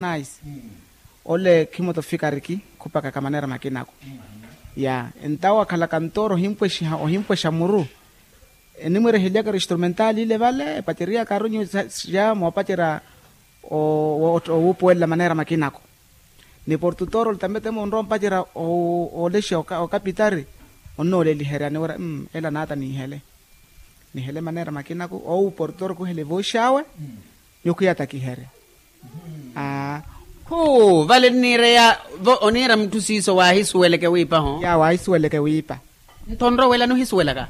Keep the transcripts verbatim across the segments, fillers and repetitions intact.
Nice. Ole khimoto fikariki khupakaka manera makinaku. Ya entawo akhalaka ntooro ohimpwexa muru. Enimwerehelyaka eri instrumental ile vale epaceryaka aru nyu ya moopacerya owuupuwelela manera makinaku. Ni portutor ole tamete munrowa ompacerya oolexa okapitari. Onnooleliherya niwira ela naata niihele. Nihele manera makinaku owu portutor kuhele vooxawe. Nyukhwiya takiherya. Khu vale nniireya vo oniira mutthu siiso waahisuweleke wiipa ho. Ya waahisuweleke wiipa. Nto onrowelani ohisuwelaka?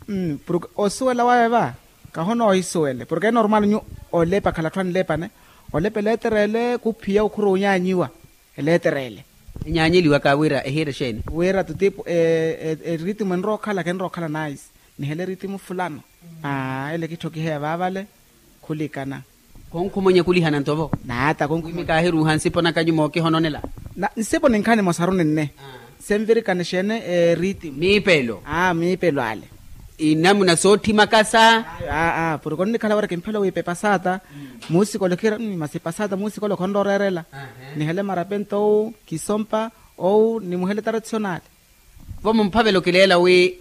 Mmm porke osuwela wawe va. Kahonoohisuwele porke enormal nyu olepa khala atthu anlepane. Olepa eleeterele khuphiya okhuru onyaanyiwa. Eleeterele. Enyaanyeliwaka wira ehiire exeeni? Wira tutipu eritimu enrowa okhala khenrowa okhala nice. Nihele eritimu fulano. Aa ele kitthokiheya vaavale. Khulikana. Khonkhumwenya khulihana nto vo. Naata khonkhumwenya. Kaahiruuha nsipo naka nyuma okihononela. Nsipo ninkhaani mosaru ninne. Senvirikana exeene eritimu. Miipelo. Aa miipelo ale. Inamuna soothimakasa. Aa porke onnikhala wira kimphela wiipa epasaata. Muusikolo khiira masi epasaata muusikolo khonrowa oreerela. Nihele marapento owu kisompa owu nimuhele tradisionale. Vo mumphavela okileela wi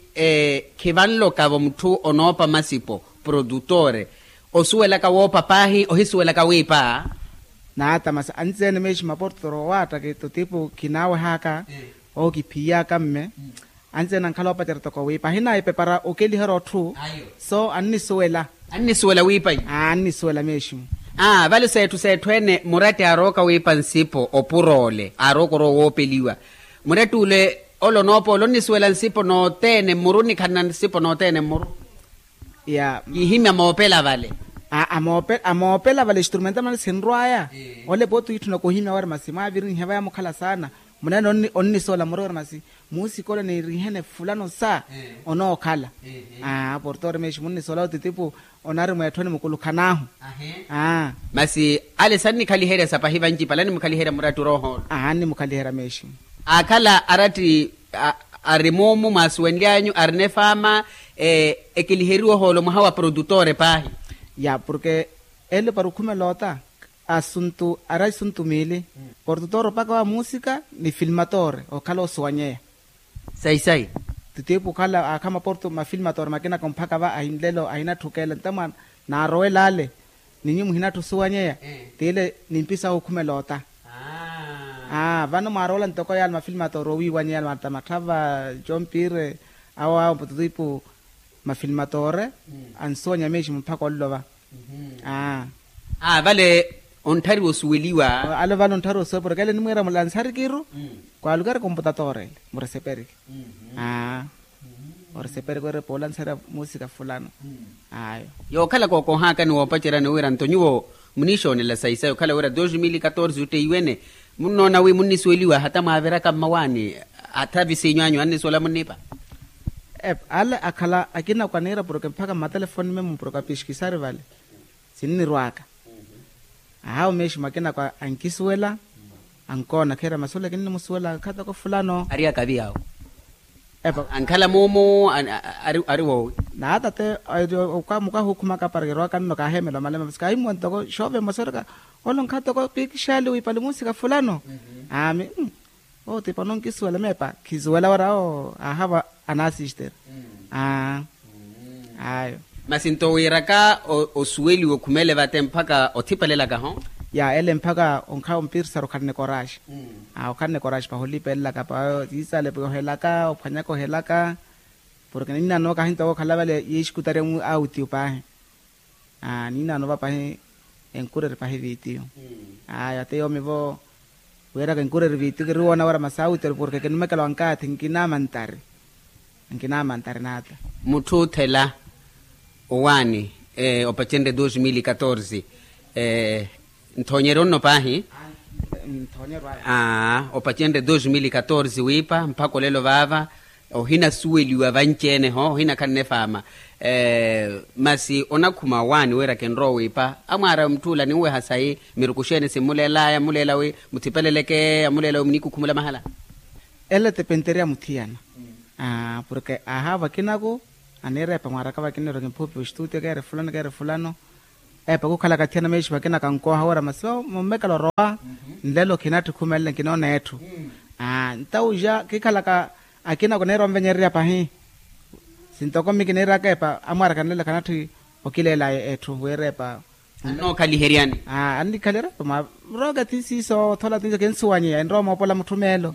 khivanlokavo mutthu onoopa masipo, produtore osuwelaka woopa paahi ohisuwelaka wiipa. Naata masi anci-ene meeximu aportutoro owaattaki tutipu khinawehaka. Owo kiphiyaka mme. Anci-ene ankhala oopacerya toko wiipa ahinayi pepara okeliherya otthu. So annisuwela. Annisuwela wiipa ii. Annisuwela meeximu. Aa vale seetthu seetthu ene muratti aarooka wiipa nsipo opura ole aarooka orowa woopeliwa. Muratti ule ole onoopa ole onnisuwela nsipo nothene mmuru nnikhalana nsipo nothene mmuru. Ya. Kihimya moopela vale. Aa moopela vale instrumenta mani sinrwaya. Ole pooti wiitthuna kuhimya wari masi mwaavirinhe vaya mukhala saana. Munene onnisola muri wari masi muusikolo niirihene fulano sa. Onookhala. Aa portore meeximu onnisola otitipu. Onari mweetthoni mukulukhan'ahu. Aa. Masi ale sannikhaliherya sapahi vanci pala animukhaliherya muratti oroohoolo. Aa annimukhaliherya meeximu. Aakhala aratti ari muumu mwaasuwenly'anyu arina efaama. Ekiliheriwa ohoolo mwaha wa produtore paahi. Ya porke ele para okhumela ota asuntu ari asuntu miili. Portutor opaka wa muusika ni filmatore okhala osuwanyeya. Sayi sayi. Tutiipu okhala aakhama portu mafilmatore makinaka omphaka va ahinlelo ahinatthu okeela ntamwa naarowela ale. Ninyu muhinatthu osuwanyeya. Tiile nimpisahu okhumela ota. Aa vano mwaarowela ntoko yaale mafilmatore owiiwanyeya mata matthava jompire awo awo tutiipu mafilmatore ansuwanya meeximu mphaka onlova. Aa vale ontthariwa osuweliwa. Ale vale ontthariwa osuweliwa porke ele nimwiira mulansarikiru. Kwaalukari komputatora ele mureseperiki. Aa oreseperiki wira epa olansareya muusika fulano. Ayo. Yookhalaka okohaakani woopaceryani wira nto nyuwo muniixoonela sayi sayi okhala wira dos mil katorze otteiwene. Munnoona wi munnisuweliwa hata mwaaviraka mmawaani hata visiinyu anyu annisuwela munniipa. Epa ale akhala akina kwaniira porke mphaka mmatelefoni memu porke apiskisari vale. Sinnirw'aka. Ahawo meeximu akinako ankisuwela. Ankoona kheera masi ole kinnimusuwela nkhatoko fulano. Ariyaka avi awo. Epa ankhala muumu. Ari woowi. Naata te mukahukhumaka para kirwaka nno kaaheemela omalema masi kaahimuwa ntoko xoove mmosa orika. Ole onkhatoko piikixali wiipali muusika fulano. Aami. Owo tipa ononkisuwela meepa khisuwela wara awo aahava. Anaasistera. Aa. Ayo. Masi nto wiiraka osuweliwa okhumele vate mphaka othipelelaka ho. Ya ele mphaka onkhawa ompirisari okhalana ekoraxi. Aa okhalana ekoraxi pahi olipelelaka pahi yiisale yohelaka ophwanyaka ohelaka. Porke ninnanooka ahintoka okhala vale yiixikutariya mu autiyo pahi. Aa niinaano va pahi enkureri pahi viitiyo. Aya te yoomi vo wiiraka enkureri viitiyo kiriwoona wira masi autiyo porke kinumekela wankaathi nkinamantari. Nkinamantari naata. Mutthu othela owaani opacenrye dos mil katorze. Nthoonyeryo nno paahi. Nthoonyeryo aya. Aa opacenrye dos mil katorze wiipa mpakha olelo vaava. Ohinasuweliwa vanci-ene ho ohinakhanne faama. Masi onakhuma owaani wira kinrowa wiipa amwaara mutth'ula ninweha sayi miruku xeeni simmuleel'aya amuleela wi muthipeleleke amuleela wi muniikhukhumula mahala. Ele tepenteria muthiyana. Porke aaha vakinaku aniira epa mwaaraka vakina ero kimphupi ostuuti keere fulano keere fulano. Epa khukhalaka thiyana mexipa akina kankooha wira masi mummekela orowa. Nlelo khinatthi khumelela nkinoona etthu. Ntawu ja khikhalaka akina khuneera onvenyererya pahi. Sintoko mmi kineeraka epa amwaaraka nlelo khanatthi okileela etthu wira epa. Annookhaliheryani. Annikhaliherya epa mwa roka ti siiso othola tinso kinsuwanyeya enrowa moopola mutthu meelo.